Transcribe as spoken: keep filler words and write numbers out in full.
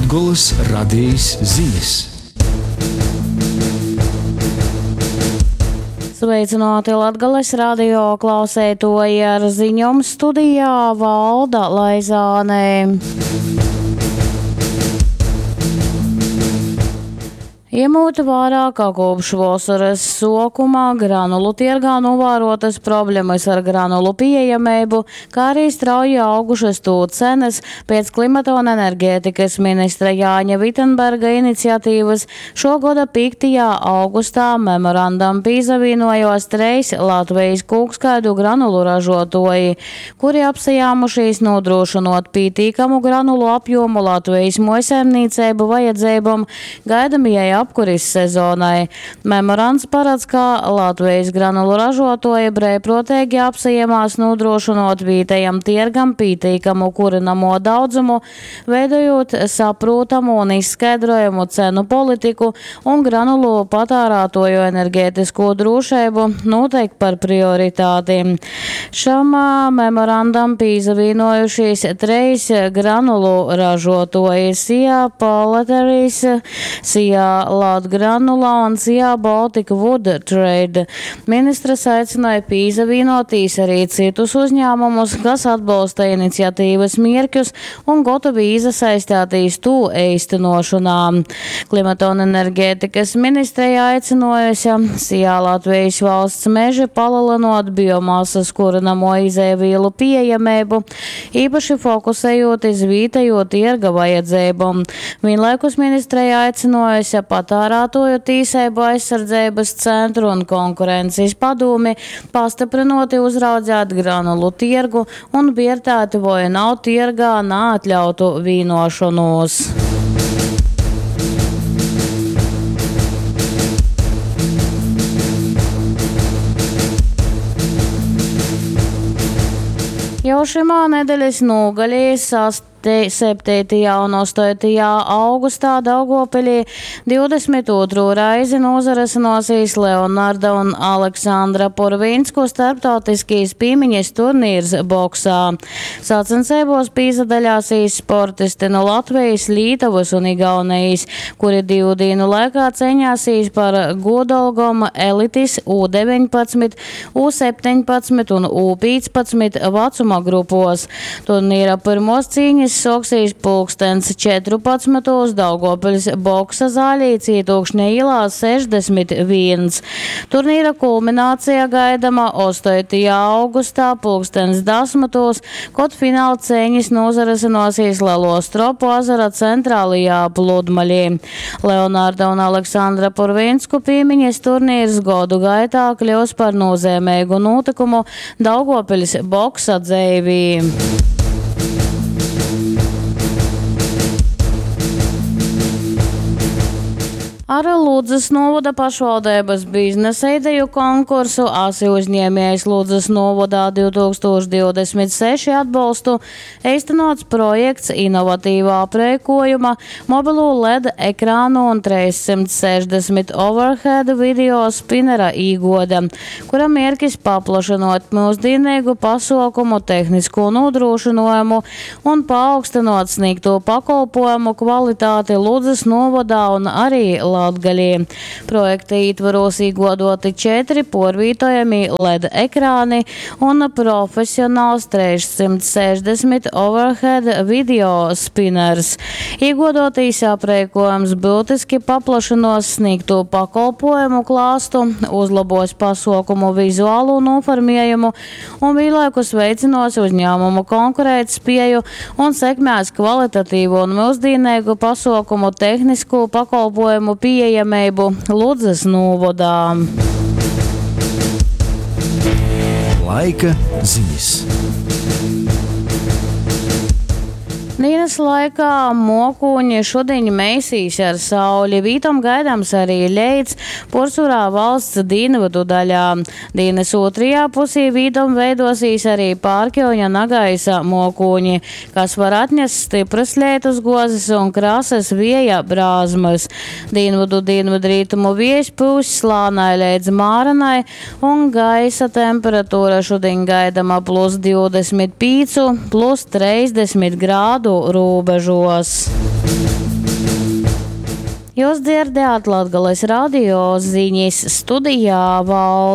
Latgolys Radejis zinis. Sveicināti Latgales radio klauseitoji ar ziņom studijā Valda Laizāne. Iemūt vērā, ka kopš vasaras sākuma granulu tirgā novērotas problemas ar granulu pieejamību, kā arī strauji augušas tū cenas, pēc klimata un enerģētikas ministra Jāņa Vitenberga iniciatīvas šo gada piektajā augustā memorandam pīzavīnojos treis Latvijas kūkskaidu granulu ražotoji, kuri apsajāmušies nodrošinot pītīkamu granulu apjomu Latvijas mojsaimniecību vajadzībām gaidamajai apkuris sezonai. Memorands paredz, ka Latvijas granulu ražotoji brīvprātīgi apsajamās nodrošinot vietējam tirgam pītīkamu kurinamo daudzumu, veidojot saprotamu un izskaidrojumu cenu politiku un granulu patērētoju enerģētisko drošību noteikti par prioritāti. Šam memorandam pīzavīnojušies treis granulu ražotoji – Sija Paleteris, Sija Latgranula un Sija Baltic Wood Trade. Ministrs aicināja pīzavīnotīs arī citus uzņēmumus, kas atbalsta iniciatīvas mierķus un gotovi izasaistātīs tū eistenošanā. Klimata un enerģētikas ministreja aicinājusi Sijā Latvijas valsts meži palielinot biomasas kurinamo izēvielu pieejamību, īpaši fokusējot iz vietējo tirga vajadzībām. Vienlaikus ministreja aicinājusi patērētoju tīsību aizsardzības centru un konkurences padomi pastiprinoti uzraudzēt granulu tirgu un vērtēt, vai nav tirgā neatļautu vīnošanos. Jau šimā nedēļas nogalī septītajā un astotajā augustā Daugavpilī divdesmit otro reizi nozaresinosīs Leonarda un Aleksandra Purvinsku starptautiskīs pīmiņas turnīrs boksā. Sacensībos pīzadaļāsīs sportisti no Latvijas, Lītuvas un Igaunijas, kuri divu dienu laikā ceņāsīs par godalgom elitis U deviņpadsmit, U septiņpadsmit un U piecpadsmit vecuma grupos. Turnīra pirmos cīņas soksīs pulkstens četrpadsmitos Daugavpils boksa zālī Cietokšņa ielā sešdesmit viens. Turnīra kulminācija gaidama astotajā augustā pulkstens desmitos, kad fināla cīņas nozaresinosies Lielo Stropu ezera centrālajā pludmalī. Leonarda un Aleksandra Purvinsku pīmiņas turnīrs godu gaitā kļūs par nozīmīgu notikumu Daugavpils boksa dzēvī. Ar Ludzas novada pašvaldības biznesa ideju konkursu Asi uzņēmējs Ludzas novadā divtūkstoš divdesmit seši atbalstu īstenots projekts inovatīvā aprēkojuma, mobilo L E D ekrānu un trīssimt sešdesmit overhead video spinera īgoda, kura mērķis paplašinot mūsdienīgu pasaukumu tehnisko nodrošinājumu un paaugstinot sniegto pakalpojumu kvalitāti Ludzas novadā un arī Latgalī. Projekta ietvaros īgodoti četri porvītojami L E D ekrāni un profesionāls trīssimt sešdesmit overhead video spinners. Īgodotīs aprēkojums būtiski paplašinos sniegto pakalpojumu klāstu, uzlabos pasaukumu vizuālo noformējumu un vienlaikus veiциnos uzņēmumu konkurētspēju un sekmēs kvalitatīvu un mūsdienīgu pasaukumu tehnisko pakalpojumu pieejamību Ludzas novadā. Laika ziņas. Dienas laikā mokūņi šodien mēsīs ar sauli. Vītom gaidāms arī leits porsurā valsts dienvidu daļā. Dienas otrajā pusē vītom veidosīs arī pārkjoņa nagaisa mokūņi, kas var atnest stipras lietus gozes un krasas vieja brāzmas. Dienvidu dienvidrietumu vējs pūs slānai līdz mārenai un gaisa temperatūra šodien gaidama plus divdesmit pīcu, plus trīsdesmit grādu robežos. Jūs dzierdējāt Latgales radio ziņas, studijā Valta.